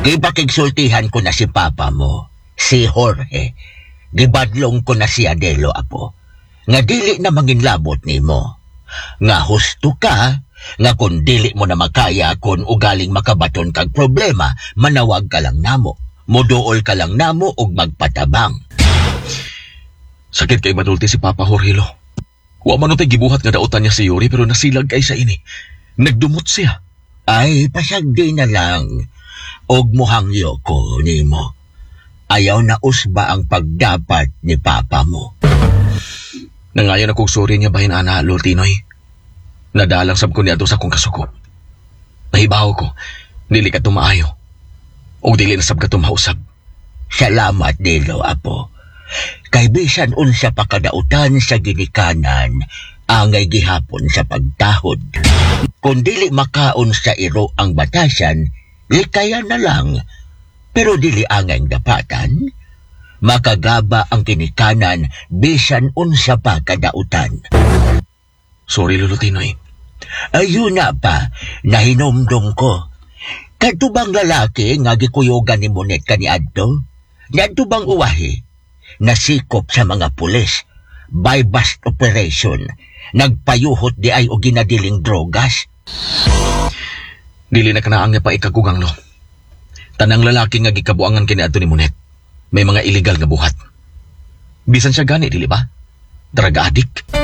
Gipakigsultihan ko na si papa mo, si Jorge. Gibadlong ko na si Adelo, apo. Nga dili na manginlabot nimo. Nga husto ka, nga kung dili mo na makaya kung ugaling makabaton kag problema, manawag ka lang namo. Muduol ka lang namo og magpatabang. Sakit kay madulti si Papa Jorge, Lo. Wa man tay gibuhat nga dautan niya si Yuri pero nasilag kay sa ini. Nagdumot siya. Ay, pasagdi na lang. Og muhangyo ko nimo. Ayaw na usba ang pagdapat ni papa mo. Nangayon akong sorry niya bahin ana, Lol Tinoy. Nadalang sab ko niadto sa akong kasuko. Nahibaw ko, dili ka tumaayo. O dili na sab ka tumausab. Salamat nilo, apo. Kay bisan unsa pa kadautan sa ginikanan, angay gihapon sa pagtahod. Kung dili makaon sa iro ang batasan, likayan na lang. Pero dili angay dapatan. Makagaba ang ginikanan bisan unsa pa kadautan. Sorry, Lolo Tinoy. Ayun na pa, nahinumdum ko. Kadto bang lalaki nga gikuyogan ni Monet kaniadto? Niadto bang uwahi? Nasikop sa mga pulis. By bust operation. Nagpayuhot di ay og ginadiling drogas. Dili na kanaang nga pa ikagugang, lo. Tanang lalaki nga gikabuangan kini adto ni Monet. May mga illegal nga buhat. Bisan siya gani, dili ba? Drug addict.